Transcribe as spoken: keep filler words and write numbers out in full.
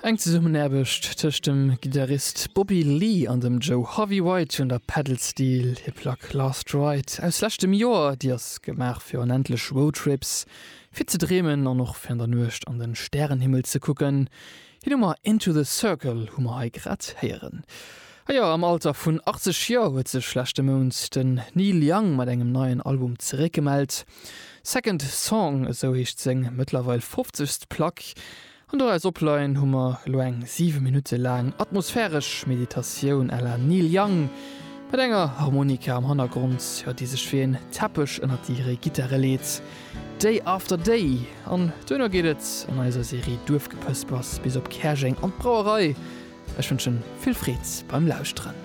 Eng Zesummenaarbecht tëscht dem Gittarist Bobby Lee an dem Joe Harvey White un der Pedal Steel. Hir Plack Last Ride aus leschtem Joer, déi ass gemaach fir onendlech Roadtrips, fir ze dreemen an och fir an der Nuecht an de Stärenhimmel ze kucken. Hir Nummer Into the Circle hu mer hei grad héieren. A jo, am Alter vun achtzeg Joer huet sech leschte Mount den Neil Young mat engem neien Album zeréckgemellt. Second Song, esou heescht seng mëttlerweil fofzegst Plack. An doraus opleien hu mer elo eng siwe Minutte laang atmosphäresch Meditatioun à la Neil Young, mat enger Harmonika am Hannergrond, jo, déi sech wéi en Teppech ënnert hire Gittare leet. Day After Day. An duerno geet et an eiser Serie Duerfgepëspers bis op Käerjeng an d'Brauerei. Ech wënschen vill Freed beim Lauschteren.